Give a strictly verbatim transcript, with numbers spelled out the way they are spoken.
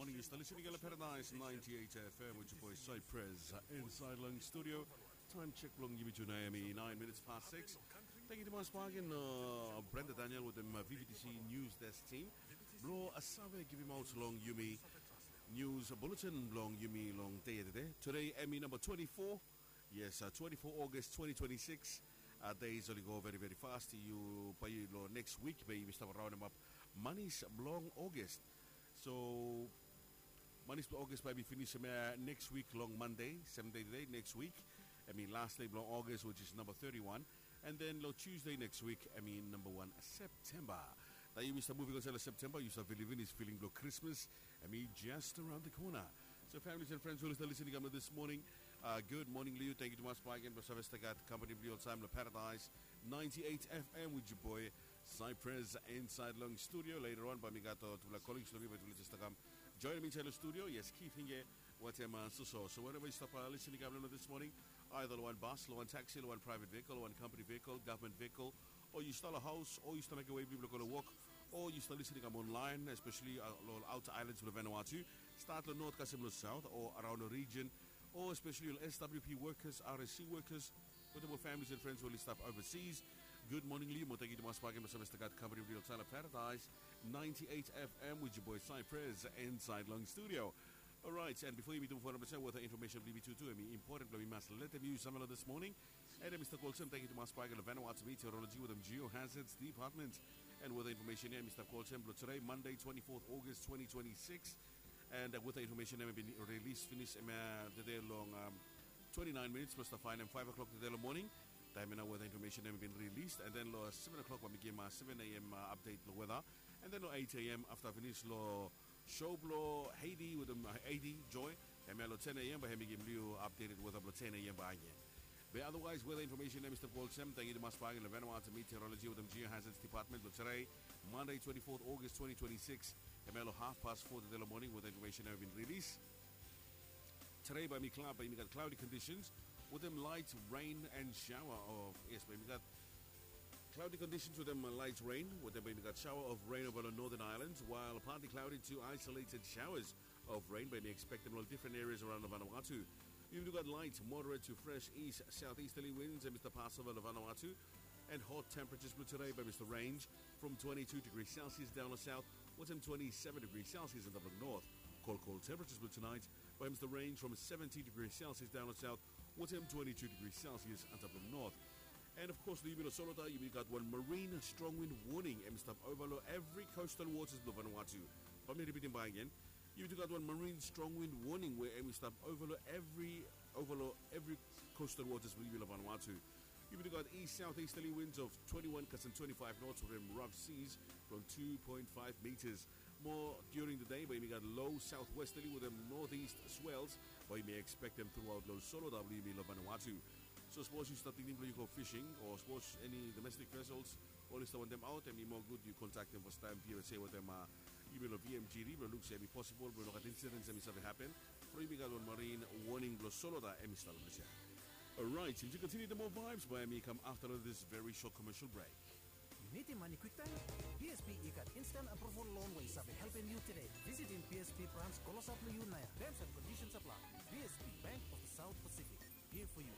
Yu stap listening long Paradise ninety-eight F M with your boy Cypress, uh, inside long studio. Time check blong yumi tu nao hemi nine minutes past six. Thank you tumas bak agen, uh, Brenda Daniel wetem, uh, V V T C News Desk team blong, uh, save givimaot long yumi news bulletin blong yumi long dei ya tede. Tede hemi namba twenty-four. Yes, uh, twenty-four August twenty twenty-six. Uh, days oli go very, very fast. Yu bae long next week bae yumi stap raonemap manis blong August. So manis blong August bae hemi finis, uh, next week long Monday, seventh day today, next week. Hemi last day blong August, which is number thirty-one. And then long Tuesday next week, hemi number one September. Nao yumi stap moving on long September, yu stap bilivim is feeling blong Christmas hemi just around the corner. So families and friends we oli stap listening kam long this morning, uh, good morning long yu. Thank you tumas bak agen blong save stap gat company blong yu oltaem long Paradise ninety-eight F M with your boy Cypress inside long studio. Later on bae mi gat, uh, tufala colleagues blong mi bae tufala just kam joinim mi inside long studio. Yes, Keith Hinge wetem, uh, Suso. So wherever yu stap, uh, listening kam long this morning, either long wan bus, long wan taxi, long wan private vehicle, long wan company vehicle, government vehicle, o yu stap long haos, o yu stap mekem wei blong yu blong go long wok, o yu stap listening kam online, especially, uh, long outer islands blong Vanuatu, stat long north kasem long south o around the region, o especially ol S W P workers, R S C workers, wetem ol families and friends we oli stap overseas. Good morning long yu mo thank you tumas bak agen blong save stap gat company blong yu oltaem long Paradise ninety-eight F M with your boy Cypress inside long studio. Alright, and bifo yumi tumuk fo namba, weather information blong yumi tu tu hemi important blong mi mas letem yu samalo this morning. And hemi stap go olsem, thank you tumas bak agen long Vanuatu Meteorology wetem Geohazards Department. And weather information ya hemi stap go olsem blong tede, Monday, twenty-fourth August twenty twenty-six. And, uh, weather information ya hemi bin rilis finis, um, uh, tede long, um, twenty-nine minutes blong stap faenem five o'clock tede long moning. Taem ya nao weather information ya hemi bin rilis, and then long seven o'clock bae mi givim, uh, seven A M, uh, update blong weather. And then long eight A M afta finis long show blong Haiti wetem, uh, Haiti Joy, hemia long ten A M bae hemi givim long yu updated weather blong ten A M bakegen. Be otherwise weather information ya hemi stap go olsem, thank you tumas bak agen long Vanuatu Meteorology wetem Geohazards Department blong tede, Monday, twenty-fourth August twenty twenty-six. Hemia long half past four tede long moning weather information ya hemi bin rilis. Tede bae hemi clou-, bae hemi gat cloudy conditions wetem light rain and shower of, yes, bae hemi gat cloudy conditions wetem, uh, light rain, wetem bae hemi gat shower of rain ova long northern islands, while partly cloudy to isolated showers of rain bae hemi expectem long different areas around Vanuatu. Yumi tu gat light, moderate to fresh east southeasterly winds hemi stap pas ova long Vanuatu. And hot temperatures blong tede bae hemi stap range from twenty-two degrees Celsius down long south, wetem twenty-seven degrees Celsius antap long north. Cold, cold temperatures blong tonight bae hemi stap range from seventy degrees Celsius down long south, wetem twenty-two degrees Celsius antap long north. And of course long yumi long Soloda, yumi gat wan marine strong wind warning hemi stap ova long evri coastal waters blong Vanuatu. Bae mi ripitim bakegen. Yumi tu gat wan marine strong wind warning we hemi stap ova long evri, ova long evri coastal waters blong yumi long Vanuatu. Yumi tu gat east southeasterly winds of twenty-one kasem twenty-five knots wetem rough seas from two point five meters. Mo during the day bae yumi gat low southwesterly wetem northeast swells bae yumi expectem throughout long Soloda blong yumi long Vanuatu. So sapos yu stap tingting blong yu go fishing o sapos eni domestic vessels oli stap wantem aot, hemi moa gud yu kontaktem fastaem V S A wetem, uh, yumi long V M G D blong luk se hemi posibol blong no gat incidents hemi save hapen. From yumi gat wan marine warning blong Soloda hemi stap long ples ya. Alright, yumi continue the more vibes bae hemi kam afta long this very short commercial break. Yu nidim mane kwiktaem? B S P i gat instant approval loan we i save helpem yu tede. Visitim B S P branch klosap long yu naoia. Terms and conditions apply. B S P, Bank of the South Pacific. Here for you.